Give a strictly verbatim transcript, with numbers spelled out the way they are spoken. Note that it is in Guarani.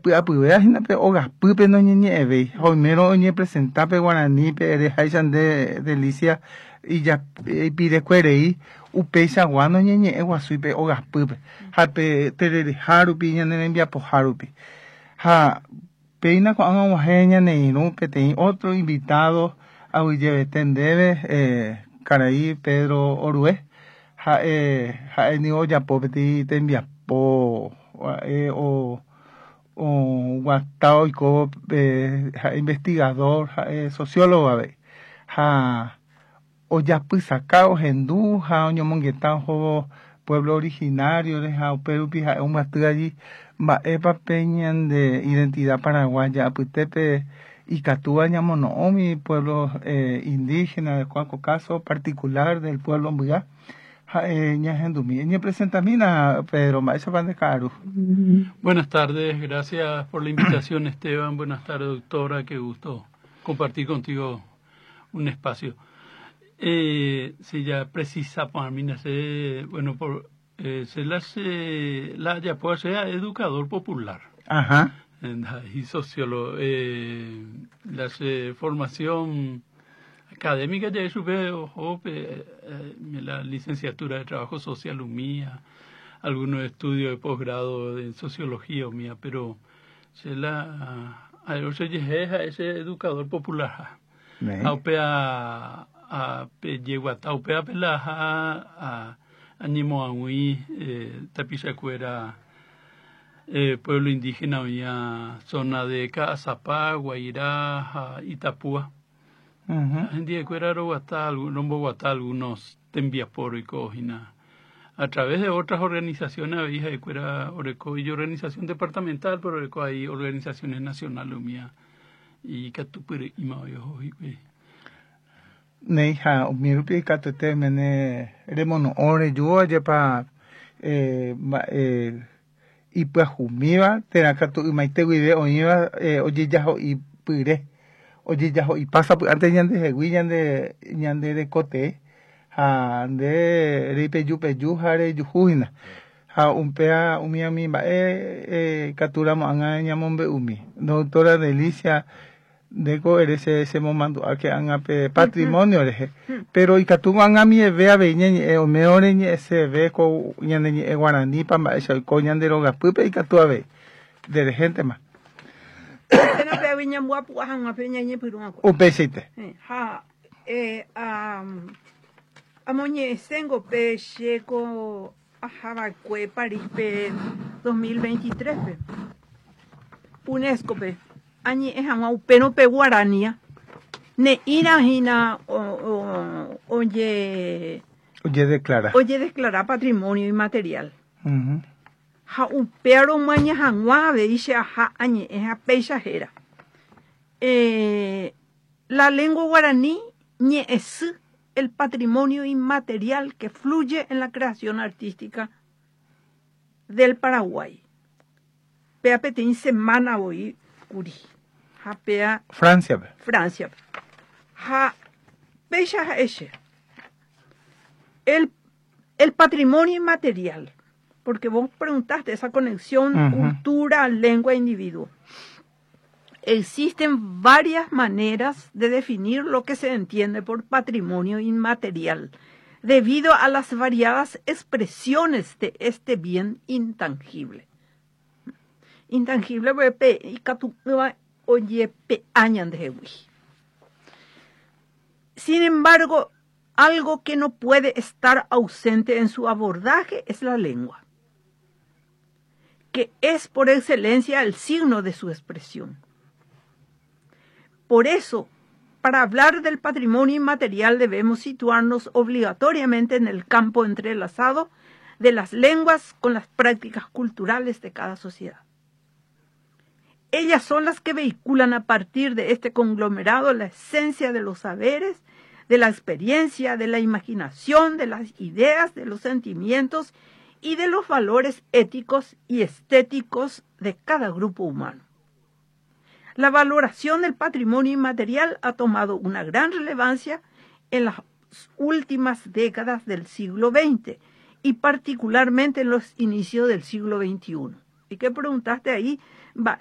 Jajepy'apyvéva hína pe ogapýpe noñeñe'ẽvéi ha oimérõ oñepresenta pe guaranípe ereháicha nde Delicia ipirekuerei upeichagua noñeñe'ẽ guasúi pe ogapýpe ha pe terereha rupi ñane rembiapoha rupi ha péina ko'ág̃a og̃uahẽ ñane irũ peteĩ otro invitado aguyjevete ndéve eh, karai Pedro Orué ha'e ha'éniko ojapo peteĩ tembiapo ha'e o oguata oiko ha'e investigador ha'e sociólogo avei ha ojapysaka ohendu ha oñomongeta ohóvo pueblo originario ha upérupi ha'e ombyaty allí mba'épa pe ñande identidad paraguaya apytépe ikatúva ñamono'õ umi pueblo eh, indígena ko caso particular del pueblo Mbyá ha'e ñahendumi eñepresentamína Pedro mba'éichapa nde ka'aru. Buenas tardes, gracias por la invitación, Esteban. Buenas tardes, doctora, qué gusto compartir contigo un espacio. Eh, si ya precisa para mí, bueno, por, eh, se la, se, la ya puede ser educador popular. Ajá. Y sociólogo. Eh, la formación académica ya supe, ojo, eh, la licenciatura de trabajo social mía, algunos estudios de posgrado en sociología mía, pero se la a ese educador popular. A upea a pe jeguata upea pelaha a añemoag̃ui eh, tapichakuéra eh, pueblo indígena oĩa zona de Ka'asapa, Guairá ha Itapúa. Uh -huh. Hendivekuéra roguata romboguata algunos tembiapo roiko hína a través de otras organizaciones avei ha'ekuéra oreko organización departamental pero oreko ahí organizaciones nacionales umía ikatupyry'íma oho hikuái. Néi ha umi rupi ikatuete mene remono'õ reju ajépa eh, mba'e ipyahumíva térã katu ymaite guive oĩva eh, ojejaho'ipyre ojejaho'ipa sapy'ánte ñandehegui ñande ñande rekotee ha nde reipejupeju ha rejuhúhína ha upéva umi umi mba'e eh, ikatúramo ág̃a ñamombe'umi. Doctora Delicia ndéko ere che chemomandu'áke ág̃a pe patrimonio rehe pero ikatu ág̃a mieve avei ñañe'ẽ oimérõ reñe'ẽseve ko ñane ñe'ẽ guaranípa mba'éicha oiko ñande rogapýpe ikatu avei nderehéntema. Térã pe avei ñamboapu'a hag̃ua pe ñañepyrũakue. Upeichaite. Ha eh, um, amoñe'ẽséngo pe che ko ahava'ekue Paris-pe dos mil veintitrés-pe UNESCO-pe añe'ẽ hag̃ua upérõ pe guarania ne'ĩra hína oje ojedeclara ojedeclara patrimonio inmaterial. Uh-huh. Ha upéva romaña hag̃ua avei che aha añe'ẽ ha péicha héra. Eh, la lengua guaraní ñe'ẽsy el patrimonio inmaterial que fluye en la creación artística del Paraguay. Péa peteĩ semana voi kuri. Ha péa Francia-pe. Francia-pe. Ha péicha ha'e che. El, el patrimonio inmaterial, porque vos preguntaste esa conexión Uh-huh. cultura, lengua, individuo. Existen varias maneras de definir lo que se entiende por patrimonio inmaterial, debido a las variadas expresiones de este bien intangible. Intangible, pe ikatu'ỹva ojepe'a ñandehegui. Sin embargo, algo que no puede estar ausente en su abordaje es la lengua, que es por excelencia el signo de su expresión. Por eso, para hablar del patrimonio inmaterial debemos situarnos obligatoriamente en el campo entrelazado de las lenguas con las prácticas culturales de cada sociedad. Ellas son las que vehiculan a partir de este conglomerado la esencia de los saberes, de la experiencia, de la imaginación, de las ideas, de los sentimientos y de los valores éticos y estéticos de cada grupo humano. La valoración del patrimonio inmaterial ha tomado una gran relevancia en las últimas décadas del siglo veinte y particularmente en los inicios del siglo veintiuno. ¿Y qué preguntaste ahí? Va,